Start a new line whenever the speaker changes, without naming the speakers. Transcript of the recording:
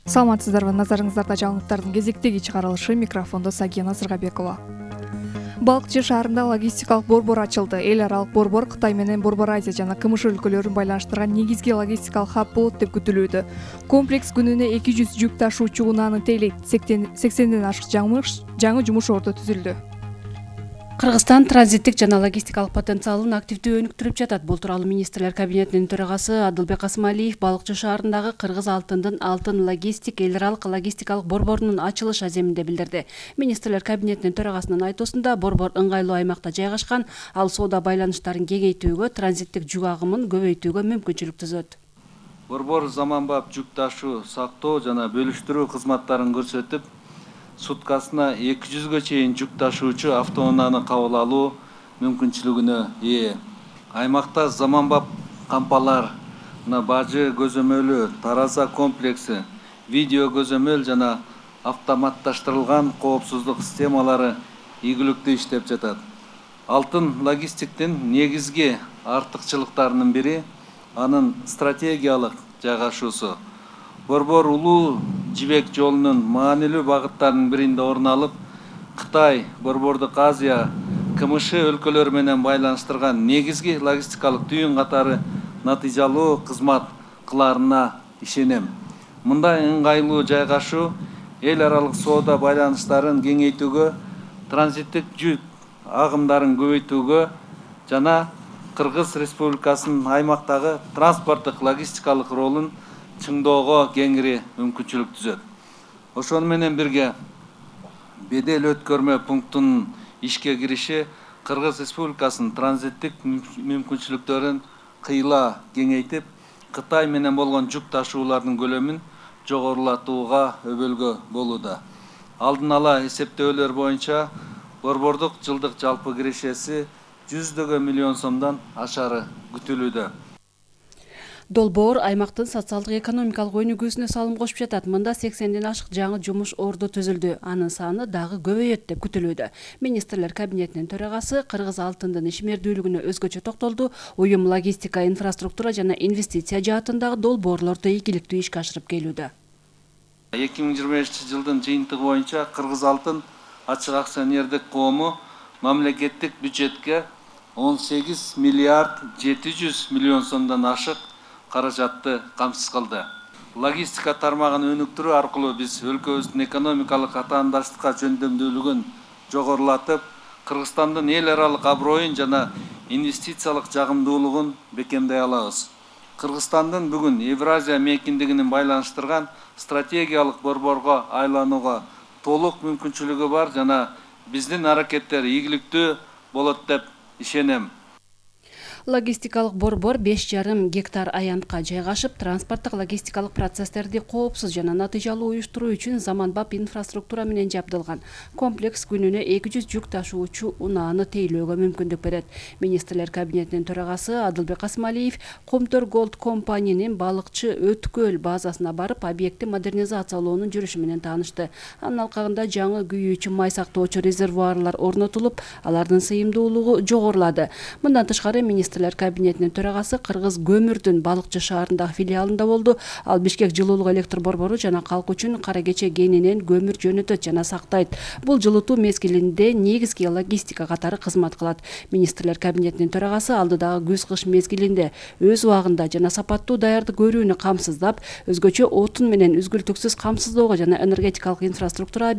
Саламатсыздарбы, назарыңыздарда жаңылыктардын кезектеги чыгарылышы, микрофондо Сагина Сыргабекова. Балыкчы шаарында логистикалык борбор ачылды. Эл аралык борбор Кытай менен Борбор Азия жана КМШ өлкөлөрүн байланыштырган негизги логистикалык хаб болот деп күтүлүүдө. Комплекс күнүнө 200 жүк ташуучу унааны тейлейт. 80ден ашык жаңы жумуш ордо түзүлдү.
Кыргызстан транзиттик жана логистикалык потенциалын активдүү өнүктүрүп жатат. Бул тууралуу министрлер кабинетинин төрагасы Адылбек Касымалиев Балыкчы шаарындагы Кыргыз алтындын алтын логистик эл аралык логистикалык борборунун ачылыш аземинде билдирди. Министрлер кабинетинин төрагасынын айтуусунда борбор ыңгайлуу аймакта жайгашкан, ал соода байланыштарын кеңейтүүгө, транзиттик жүк агымын көбөйтүүгө мүмкүнчүлүк түзөт.
Борбор заманбап жүк ташуу, сактоо жана бөлүштүрүү кызматтарын көрсөтүп, суткасына 200га чейин жүк ташуучу автоунааны кабыл алуу мүмкүнчүлүгүнө ээ. Аймакта заманбап кампалар, бажы көзөмөлү, тараза комплекси, видео көзөмөл жана автоматташтырылган коопсуздук системалары ийгиликтүү иштеп жатат. Алтын логистиктин негизги артыкчылыктарынын бири анын стратегиялык жайгашуусу. Борбор улуу жибек жолунун маанилүү багыттарынын биринде орун алып, Кытай, Борбордук Азия, КМШ өлкөлөрү менен байланыштырган негизги логистикалык түйүн катары натыйжалуу кызмат кылаарына ишенем. Мындай ыңгайлуу жайгашуу эл аралык соода байланыштарын кеңейтүүгө, транзиттик жүк агымдарын көбөйтүүгө жана Кыргыз Республикасынын аймактагы транспорттук логистикалык ролун чыңдоого кеңири мүмкүнчүлүк түзөт. Ошону менен бирге бедел өткөрмө пунктунун ишке кириши Кыргыз Республикасынын транзиттик мүмкүнчүлүктөрүн кыйла кеңейтип, Кытай менен болгон жүк ташуулардын көлөмүн жогорулатууга өбөлгө болууда. Алдын ала эсептөөлөр боюнча борбордук жылдык жалпы кирешеси 100 миллион сомдон ашары күтүлүүдө.
Долбоор аймактын социалдык экономикалык өнүгүүсүнө салым кошуп жатат. Мында 80ден ашык жаңы жумуш ордо түзүлдү. Анын саны дагы көбөйөт деп күтүлүүдө. Министрлер кабинетинин төрагасы Кыргыз алтындын ишмердүүлүгүнө өзгөчө токтолду. Уюм логистика, инфраструктура жана инвестиция жаатындагы долбоорлорду ийгиликтүү ишке ашырып келүүдө.
2025-жылдын жыйынтыгы боюнча Кыргыз алтын ачык акционердик коому мамлекеттик бюджетке 18 миллиард 700 миллион сомдон ашык каражатты камсыз кылды. Логистика тармагын өнүктүрүү аркылуу биз өлкөбүздүн экономикалык атаандаштыкка жөндөмдүүлүгүн жогорулатып, Кыргызстандын эл аралык аброюн жана инвестициялык жагымдуулугун бекемдей алабыз. Кыргызстандын бүгүн Евразия мейкиндигинин байланыштырган стратегиялык борборго айланууга толук мүмкүнчүлүгү бар жана биздин аракеттер ийгиликтүү болот деп ишенем.
Логистикалык борбор 5,5 гектар аянтка жайгашып, транспорттук логистикалык процесстерди коопсуз жана натыйжалуу уюштуруу үчүн заманбап инфраструктура менен жабдылган. Комплекс күнүнө 200 жүк ташуучу унааны тейлөөгө мүмкүндүк берет. Министрлер кабинетинин төрагасы Адылбек Касымалиев Комтор Голд компаниянын Балыкчы өткөл базасына барып, объектти модернизациялоонун жүрүшү менен таанышты. Анын алкагында жаңы күйүүчү май сактоочу резервуарлар орнотулуп, алардын сыйымдуулугу жогорулады. Мындан тышкары министрлер кабинетинин төрагасы Кыргыз көмүрдүн Балыкчы шаарындагы филиалында болду. Ал Бишкек жылуулук электр борбору жана калк үчүн Кара Кече кенинен көмүр жөнөтөт жана сактайт. Бул жылытуу мезгилинде негизги логистика катары кызмат кылат. Министрлер кабинетинин төрагасы алдыдагы күз-кыш мезгилинде өз убагында жана сапаттуу даярдык көрүүнү камсыздап, өзгөчө отун менен үзгүлтүксүз камсыздоого жана энергетикалык инфраструктура